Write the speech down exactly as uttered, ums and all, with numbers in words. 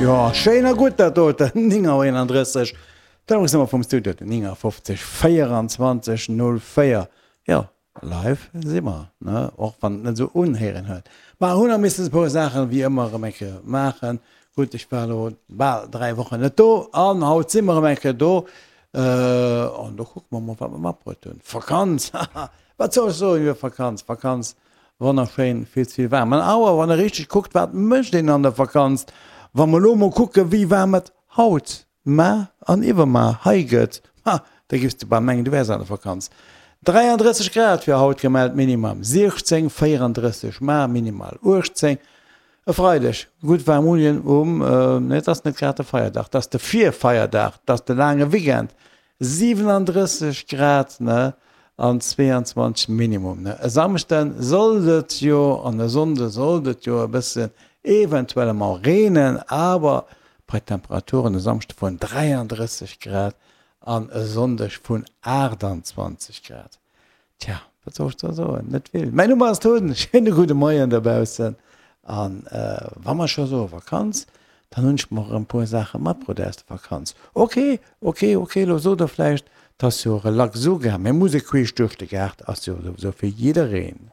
Jo, schéin a gutt dat doten, néng Auer eenandrësseg. D'Telefonsnummer vum Studio, néngafofzeg véierundzwanzeg null véier. Jo, live si mer, ne, och wann et net esou unhéieren huet. Mä hunn nach missen e puer Saachen, wéi ëmmer, erëm eng Kéier maachen. Gutt, ech war elo bal dräi Wochen net do an haut si mer erëm eng Kéier do. An do kucke mer mol, wat mer matbruet hunn. Vakanz, haha, wat soll ech soen iwwer Vakanz? Vakanz, wonnerschéin, vill ze vill waarm. An awer, wann e richteg kuckt, wat mécht een an der Vakanz? Wa mer elo mol kucken, wéi waarm et haut, mar an iwwermar hei gëtt, ha, da giffs de bal mengen, du wäers an der Vakanz. dräiandrësseg Grad fir haut gemellt, Minimum siechzéng, véierandrësseg mar, minimal uechtzéng. E Freideg gutt waarm unien um, nee et ass net grad de Feierdag, et ass de Virfeierdag, et ass de laange Weekend, siwenandrësseg Grad, ne, an zweeanzwanzeg Minimum, ne. E Samschde sollt et jo an e Sonnde sollt et jo e bëssen eventuellement reenen, awer bei Temperaturen e Samschde vun dräiandrësseg Grad an e Sonndeg vun aachtanzwanzeg Grad. Tja, wat soll ech da soen? Net vill. Mäin Numm ass Tun, schéine gudde Moien dobaussen. An wa mer scho soe Vakanz, dann hunn ech mer erëm e puer Saache matbruet aus der Vakanz. Ok, ok, ok, elo sot der vläicht, 't ass jo relax ugaang, mä Musek queesch duerch de Gaart ass jo souwisou fir jiddereen.